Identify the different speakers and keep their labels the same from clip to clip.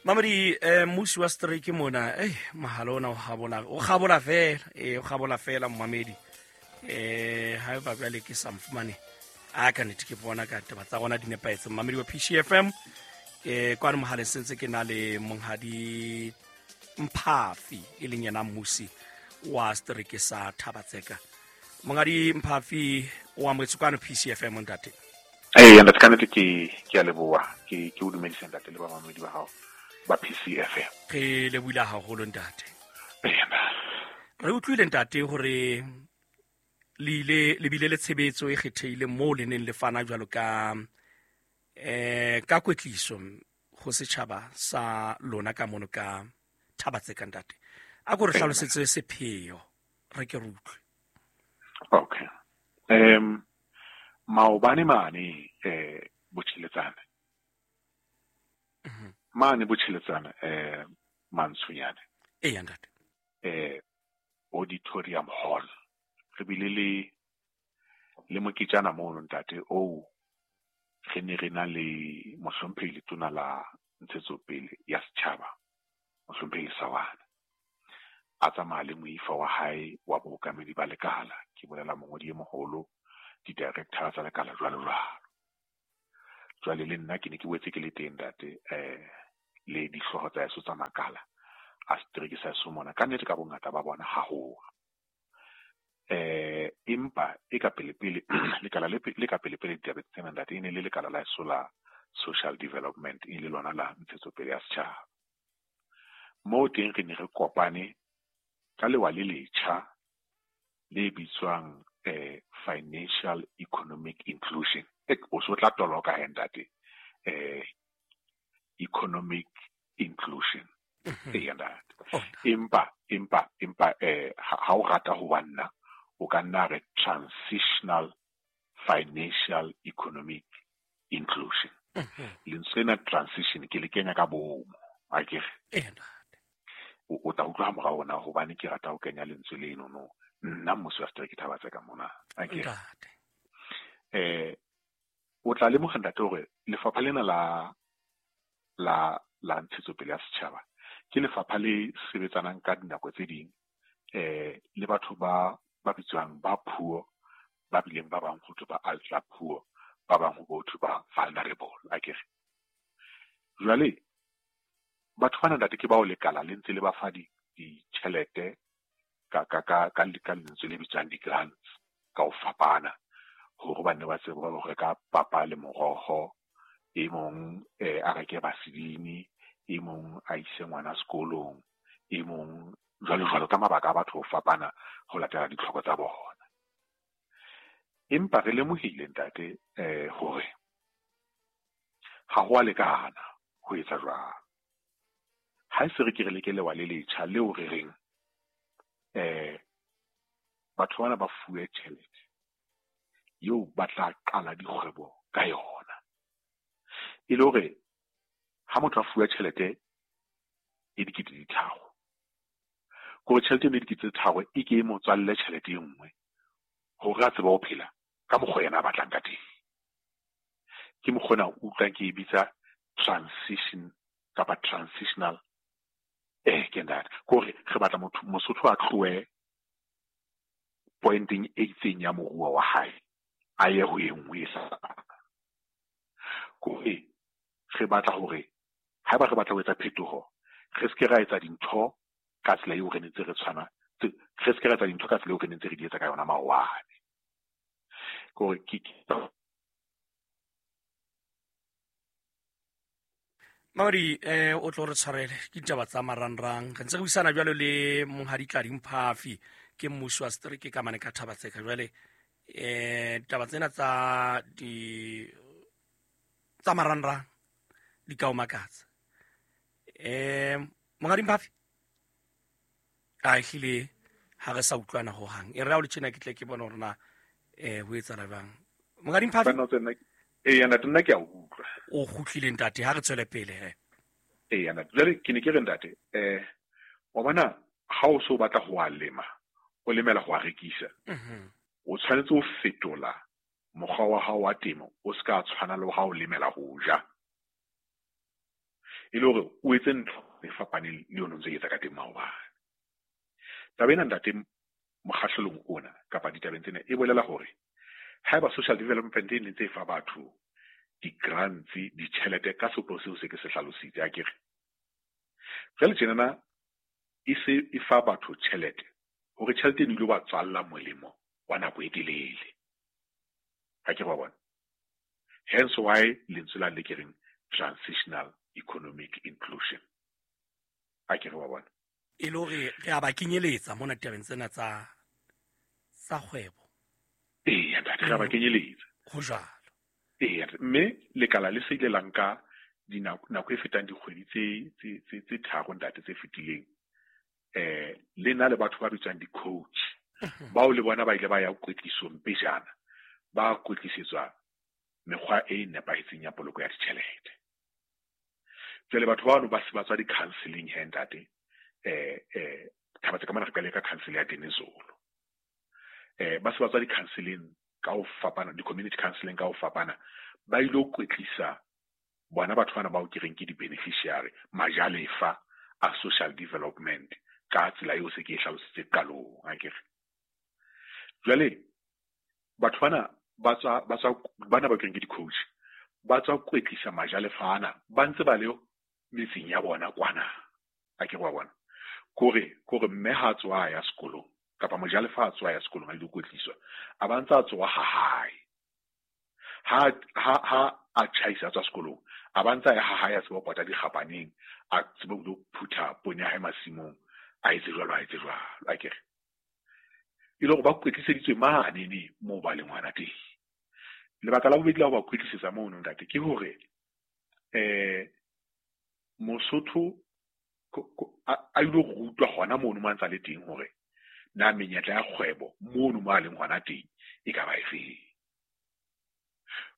Speaker 1: Mamedi, mmusi wa strike mona, eh mohala ona o gabola, o gabola fela, o gabola fela mmamedi. Ha ba bjale ke sa mfumane. A ka nete ke bona ka taba tsa gona di nepahetse. Mmamedi wa PCFM, kwano mohaleng sentse ke na le monghadi Mphafi, e leng yena mmusi wa strike sa Thabatseka. Monghadi Mphafi, o amohetse kwano PCFM ntate.
Speaker 2: Ee, ntate, ka nnete ke a leboha. Ke o dumedise ntate le bamamedi ba hao ba PCFM.
Speaker 1: Re lebohile haholo ntate.
Speaker 2: Ee,
Speaker 1: re utlwile ntate hore le ile le bile le tshebetso e kgethehileng moo le neng le fana jwalo ka ka kwetliso ho setjhaba sa lona ka mono ka Thabatseka ntate. A ko re hlalosetse sepheo re ke re utlwe.
Speaker 2: Okay. Maobane mane botjheletsane. Mane botjheletsane Mantsonyane.
Speaker 1: Ee ntate.
Speaker 2: Auditorium Hall. Re bile le moketjana mono ntate oo re ne re na le mohlomphehi letona la ntshetsopele ya setjhaba, mohlomphehi Lesawana. A tsamaya le moifa wa hae wa bookamedi ba lekala, ke bolela mongodi e moholo, di-director tsa lekala jwalo jwalo. Jwale le nna ke ne ke boetse ke le teng ntate, le dihlooho tsa heso tsa makala a setereke sa heso mona, ka nnete ka bongata ba bona haholo. Empa e ka pele pele lekala le ka pele pele ditabeng tsena ntate, e ne le lekala la heso la social development, e le lona la ntshetsopele ya setjhaba. Moo teng re ne re kopane ka lewa le letjha le bitswang financial economic inclusion. O so tla toloka he ntate, economic inclusion. Ee ntate. Empa ha o rata ho ba nna, o ka nna re transitional financial economic inclusion. Lentswe lena transition ke le kenya ka bomo, akere? O tla utlwa ha morao hore na hobane ke rata ho kenya lentswe leno no. Nna mmusi wa setereke Thabatseka mona, akere? O tla lemoha ntate hore lefapha lena la ntshetsopele ya setjhaba ke lefapha le sebetsanang ka dinako tse ding le batho ba bitswang ba poor, ba bileng ba bang ho thwe ba ultra poor, ba bang ho thwe ba vulnerable, akere? Jwale batho bana ntate ke bao lekala le ntse le ba fa ditjhelete ka lentswe le bitswang di-grants ka ho fapana, hore ba nne ba tsebe ho reka papa le moroho, e mong a reke vaseline, e mong a ise ngwana sekolong, e mong jwalo jwalo, ka mabaka a batho ho fapana ho latela ditlhoko tsa bona. Empa re lemohile ntate hore ha ho a lekana ho etsa jwalo. Ha e se re ke re leke lewa le letjha leo re reng batho bana ba fuwe tjhelete eo ba tla qala dikgwebo ka yona. E le hore ha motho a fuwe tjhelete e dikete di tharo, kore tjhelete e dikete tse tharo e ke e mo tswalle tjhelete e nngwe hore a tsebe ho phela ka mokgwa yena a batlang ka teng. Ke mokgwa ona o utlwang ke e bitsa transition kapa transitional ke ntate. Kore re batla motho Mosotho a tlohe pointeng e itseng ya moruo wa hae a ye ho e nngwe e sa. Kore re batla hore haeba re batla ho etsa phetoho, re se ke ra etsa dintho ka tsela eo re nentse re tshwana, re se ke ra etsa dintho ka tsela eo re nentse re di etsa ka yona maobane. Kore ke
Speaker 1: Maudi, o tlo re tshwarele ke ditaba tsa marangrang. Re ntse re buisana jwalo le monghadi Tladi Mphafi, ke mmusi wa setereke ka mane ka Thabatseka. Jwale ditaba tsena tsa di tsa marangrang di ka o makatsa. Monghadi Mphafi, a ehlile ha re sa utlwana ho hang. E re ha o le tjena ke tle ke bone hore na ho etsahala jwang. Monghadi Mphafi?
Speaker 2: Ee, ntate, nna ke a utlwa.
Speaker 1: O kgutlile ntate, ha re tswele pele he.
Speaker 2: Ee, ntate, jwale ke ne ke re ntate, wa bona ha o so batla ho a lema, o lemela ho a rekisa. O tshwanetse ho fetola mokgwa wa hao wa temo, o se ka tshwana le ha o lemela ho ja. E le hore o etse ntho e fapaneng le yona o ntse etsa ka teng maobane. Taba ena ntate mokgahlelong ona kapa ditabeng tsena e bolela hore haeba social development e ne ntse e fa batho di-grants, ditjhelete ka sepheo seo se ke se hlalositse akere. Jwale tjenana e se e fa batho tjhelete hore tjhelete eno e ilo ba tswalla molemo wa nako e telele. Akere wa bona? Hence why lentswe la le ke reng transitional economic inclusion. Akere wa bona?
Speaker 1: E le hore re a ba kenyeletsa mona ditabeng tsena tsa kgwebo.
Speaker 2: Eya ntate, re a ba kenyeletsa.
Speaker 1: Ho jwalo.
Speaker 2: Eya, mme lekala le se ile la nka nako e fetang dikgwedi tse tharo ntate tse fetileng. Le na le batho ba bitswang di-coach. Bao le bona ba ile ba ya kwetlisong pejana, ba kwetlisetswa mekgwa e nepahetseng ya poloko ya ditjhelete. Jwale batho bano ba se ba tswa di-counseling he ntate. Thabatse ka mona re qale ka council ya Dinizulu. Ba se ba tswa di-counseling ka ho fapana, di-community counseling ka ho fapana, ba ilo kwetlisa bona batho bana bao ke reng ke di-beneficiary, majalefa a social development ka tsela eo se ke e hlalositse qalong, akere. Jwale batho bana ba tswa bana ba ke reng ke di-coach, ba tswa kwetlisa majalefa ana ba ntse ba le metseng ya bona kwana, akere wa bona. Kore mme ha tswa ya sekolong kapa mojalefa a tswa ya sekolong a ilo kwetliswa, a ba ntse a tswa ha hae. Ha a tjhaisa a tswa sekolong, a ba ntse a ya ha hae a tsebe ho pota dikgapaneng, a tsebe ho phutha poone ya hae masimong, a etse jwalo, akere. E le hore ba kwetliseditswe manene moo ba leng hona teng. Lebaka la bobedi la ho ba kwetlisetsa mono ntate ke hore Mosotho a ilo rutwa hona mono mo a ntsa le teng hore na menyetla ya kgwebo mono mo a leng hona teng e ka ba efeng.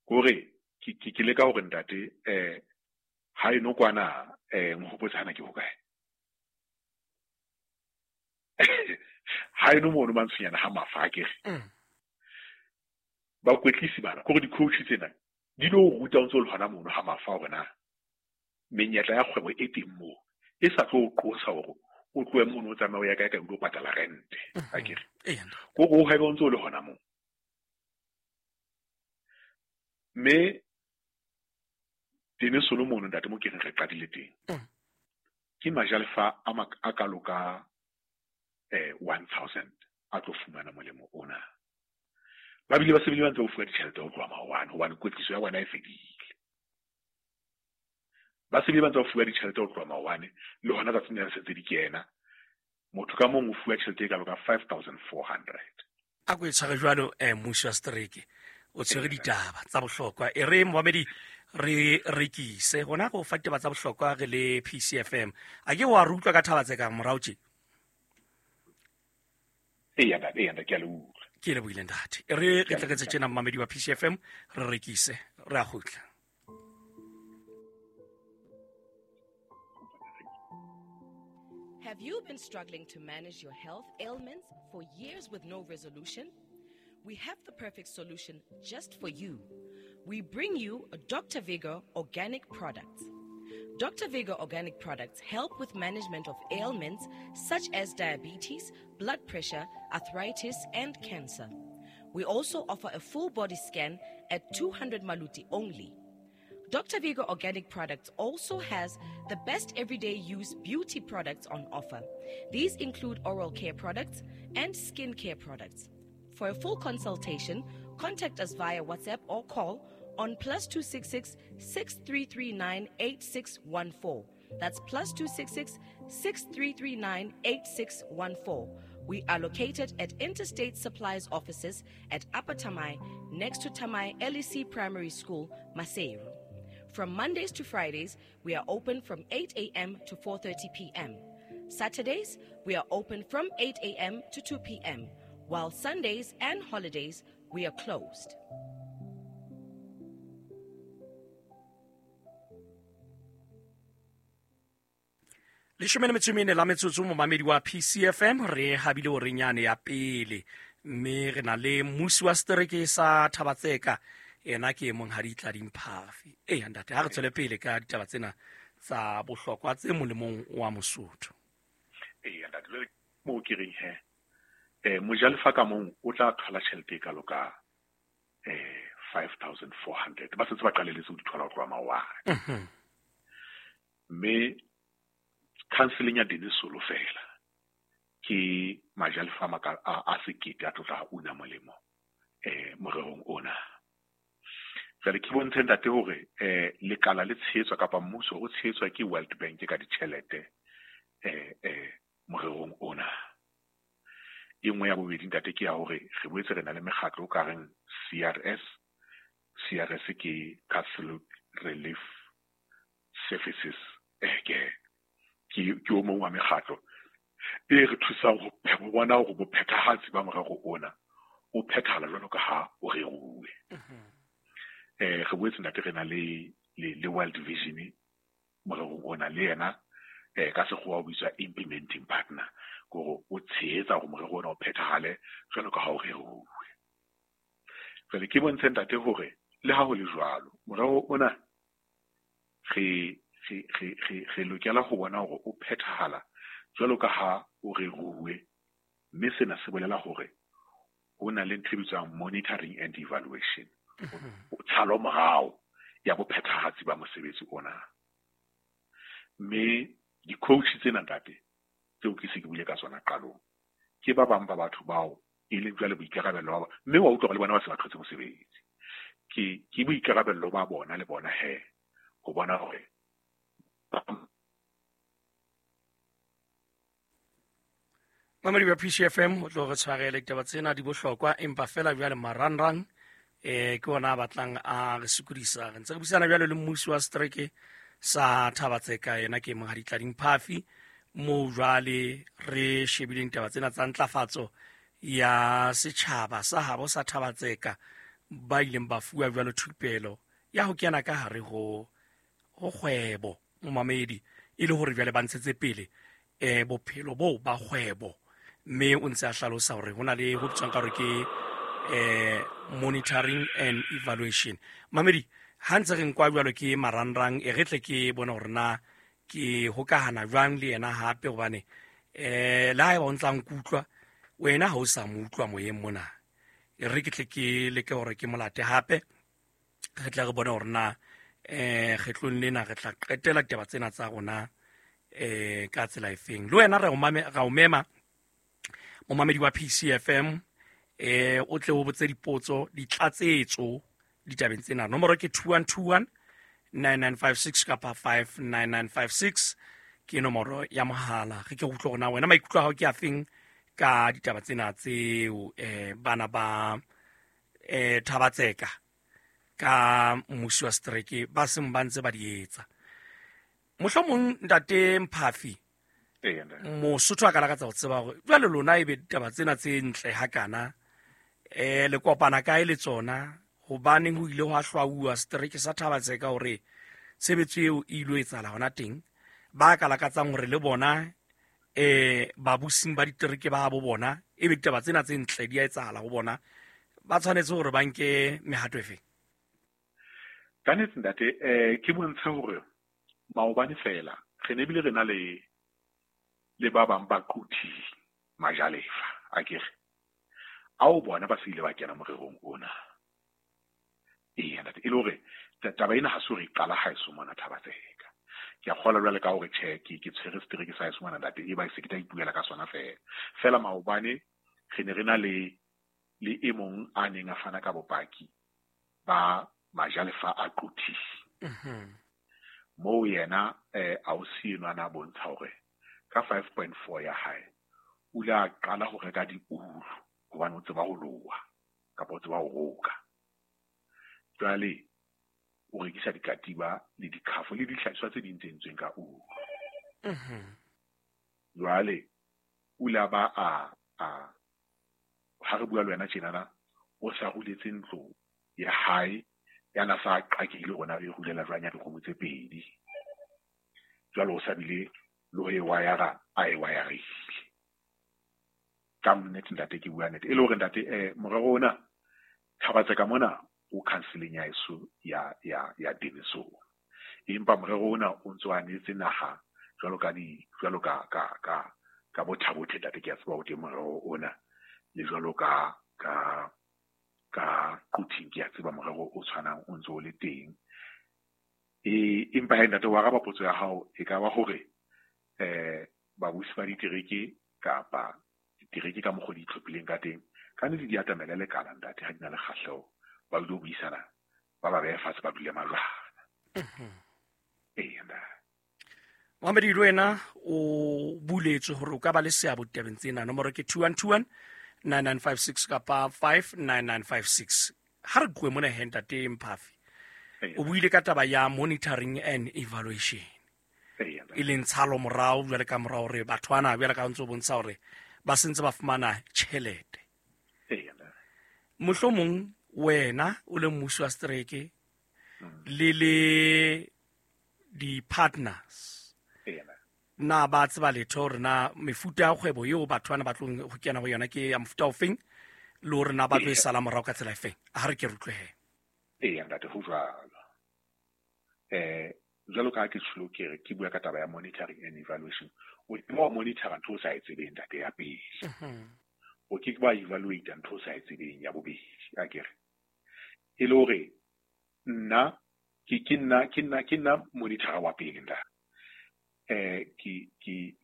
Speaker 2: Kore ke leka hore ntate ha eno kwana nhopotse hana ke hokae. Ha eno mono mantshonyana ha mafa akere. Ba kwetlisi bana kore di-coach tsena di lo ruta o ntso le hona mono ha mafa hore na menyetla ya kgwebo e teng moo e sa tlo qosa hore o tlohe mono o tsamaye o ya kae kae o lo patala rente akere. Kore o hwebe o ntso le hona moo. Mme Dinizulu mono ntate mo ke reng re qadile teng. Ke majalefa a kalo ka 1000 a tlo fumana molemo ona. Ba bile ba se bile ba ntse ba fuwa ditjhelete ho tloha maobane hobane kwetliso ya bona e fedile. Ba se bile ba ntse ba fuwa ditjhelete ho tloha maobane le hona tsatsing lena se ntse di kena. Motho ka mong o fuwa tjhelete e kalo ka 5400.
Speaker 1: A ko e tshware jwalo mmuso wa setereke o tshwere ditaba tsa bohlokwa. E re momamedi re rekise hona go fa ditaba tsa bohlokwa re le PCFM. A ke wa re utlwa ka thaba tse ka morao tje?
Speaker 2: Eya ntate, ke a le utlwa.
Speaker 1: Ke lebohile ntate. E re re tletse tjena momamedi wa PCFM re rekise re a kgutla.
Speaker 3: Have you been struggling to manage your health ailments for years with no resolution? We have the perfect solution just for you. We bring you Dr. Vigor Organic Products. Dr. Vigor Organic Products help with management of ailments such as diabetes, blood pressure, arthritis, and cancer. We also offer a full body scan at 200 maluti only. Dr. Vigor Organic Products also has the best everyday use beauty products on offer. These include oral care products and skin care products. For a full consultation, contact us via WhatsApp or call on +266 6339 8614. That's +266 6339 8614. We are located at Interstate Supplies offices at Upper Tamai, next to Tamai LEC Primary School, Maseru. From Mondays to Fridays, we are open from 8 a.m. to 4:30 p.m. Saturdays, we are open from 8 a.m. to 2 p.m., while Sundays and holidays, we are closed.
Speaker 1: Leshome le metso e mene la metsotso momamedi wa PCFM re habile o renyane ya pele mme re na le mmusi wa setereke sa Thabatseka, ena ke monghadi Tladi Mphafi. Eya ntate, ha re tswele pele ka ditaba tsena tsa bohlokwa tse molemong wa Mosotho.
Speaker 2: Eya ntate, jwale moo ke reng he, mojalefa ka mong o tla thola tjhelete e kalo ka 5,400. Ba setse ba qalelletse ho di thola ho tloha maobane. Mme counseling ya Denisolo fela ke majalefa a 1,000 a tlo tla una molemo morerong ona. Jwale ke bontshe ntate hore lekala le tshehetswa kapa mmuso o tshehetswa ke World Bank ka ditjhelete morerong ona. E nngwe ya bobedi ntate ke ya hore re boetse re na le mekgatlo o ka reng CRS. CRS ke Catholic Relief Services. Ke o mong wa mekgatlo e re thusang ho bona hore bophethahatsi ba morero ona o phethahala jwalo ka ha o reruwe. Re boetse ntate re na le World Vision morerong ona, le yena ka sekgowa o bitswa implementing partner, kore o tshehetsa hore morero ona o phethahale jwalo ka ha o reruwe. Jwale ke bontshe ntate hore le ha ho le jwalo morero ona re lokela ho bona hore o phethahala jwalo ka ha o reruwe, mme sena se bolela hore ho na le ntho e bitswang monitoring and evaluation, tshalo morao ya bophethahatsi ba mosebetsi ona. Mme di-coach tsena ntate tseo ke se ke buile ka tsona qalong ke ba bang ba batho bao e leng jwale boikarabello ba, mme wa utlwa le bona ba se ba thotse mosebetsi, ke boikarabello ba bona le bona he ho bona hore
Speaker 1: Mamedi wa PCFM o tlo re tshwarele ditaba tsena di bohlokwa, empa fela jwale marangrang ke ona a batlang a re sokodisa. Re ntse re buisana jwale le mmusi wa setereke sa Thaba-Tseka, yena ke Monghadi Tlading Phafi, moo jwale re shebileng taba tsena tsa ntlafatso ya setjhaba sa habo sa Thaba-Tseka, ba ileng ba fuwa jwalo thupelo ya ho kena ka hare ho kgwebo momamedi, e le hore jwale ba ntshetse pele bophelo bo ba kgwebo. Mme o ntse a hlalosa hore hona le ho bitswang ka hore ke monitoring and evaluation. Mamedi, ha ntse re nkwa jwalo ke marangrang, e re tle ke bone hore na ke hokahana jwang le yena hape, hobane le haeba o ntsa nkutlwa wena ha o sa mo utlwa moyeng mona, e re ke tle ke leke hore ke molate hape, re tle re bone hore na kgetlong lena re tla qetela ditaba tsena tsa rona ka tsela efeng. Le wena re o mema momamedi wa PCFM, o tle o botse dipotso, ditlatsetso ditabeng tsena. Nomoro ke 2121 9956 kapa 59956 ke nomoro ya mohala. Re ke utlwe hore na wena maikutlo a hao ke afeng ka ditaba tsena tseo bana ba Thaba-Tseka ka mmusi wa setereke ba seng ba ntse ba di etsa. Mohlomong ntate Mphafi, Mosotho a ka lakatsa ho tseba hore jwale lona ebe ditaba tsena tse ntle hakana le kopana kae le tsona, hobaneng ho ile hwa hlwauwa setereke sa Thaba-Tseka hore tshebetso eo e ilo etsahala hona teng. Ba ka lakatsang hore le bona babusing ba ditereke ba bo bona ebe ditaba tsena tse ntle di a etsahala ho bona, ba tshwanetse hore ba nke mehato efe?
Speaker 2: Ka nnete ntate, ke bontshe hore maobane fela re ne bile re na le ba bang ba quthi majalefa akere ao bona ba se ile ba kena morerong ona. Eya ntate, e le hore taba ena ha se hore e qala haeso mona Thaba-Tseka. Ke a kgolwa jwale ka hore tjhe ke tshwere setereke sa haeso mona ntate, e ba se ke tla ipuela ka sona fela. Fela maobane re ne re na le e mong a neng a fana ka bopaki ba majalefa a quthi. Moo yena ausi enwa a bontsha hore ka 5.4 ya hae o ile a qala ho reka diulu hobane o tseba ho loha kapa o tseba ho roka. Jwale o rekisa dikatiba le dikhafo le dihlahiswa tse ding tse entsweng ka ulu. Jwale o ile a ba a ha re bua le wena tjenana, o sa ruletse ntlo ya hae ya na sa qakile rona re rulela jwang ya dikgomo tse pedi. Jwale o sa bile le ho e wayara a e wayarile. Ka nnete ntate ke bua nnete, e le hore ntate morero ona Thaba-Tseka mona o counseling ya eso ya Denison. Empa morero ona o ntso anetse naha jwalo ka di jwalo ka ka ka ka bothabothe ntate, ke a tseba o teng morero ona, le jwalo ka ka ka Quthing, ke a tseba morero o tshwanang o ntso o le teng. Empa he ntate, wa araba potso ya hao, e ka ba hore babusi ba ditereke kapa ditereke ka mokgwa di itlhophileng ka teng, ka nnete di atamele lekala ntate, ha di na le kgahleho, ba dule ho buisana, ba behe fatshe, ba dule majwana. Ee ntate.
Speaker 1: Mohamedi, le wena o buletswe hore o ka ba le seabo ditabeng tsena. Nomoro ke 2121 9956 kapa 59956. Ha re tlohe mona he ntate Mphafi, o buile ka taba ya monitoring and evaluation, e leng tshalo morao jwale ka mora hore batho bana jwale ka ntse o bontsha hore ba sentse ba fumana tjhelete. Mohlomong wena o le mmusi wa setereke le le di-partners, na ba tseba letho hore na mefuta ya kgwebo eo batho bana ba tlong ho kena ho yona ke ya mofuta ofeng, le hore na ba tlo e sala morao ka tsela efeng? Ha re ke re utlwe he.
Speaker 2: Eya ntate, ho jwalo. Jwalo ka ha ke tsholo ke re ke bua ka taba ya monitoring and evaluation, o ke wa monitora ntho o sa e tsebeng ntate, ya pele. O ke wa evaluate ntho o sa e tsebeng, ya bobedi. A ke re e le hore nna ke nna monitor wa pele ntate. Ke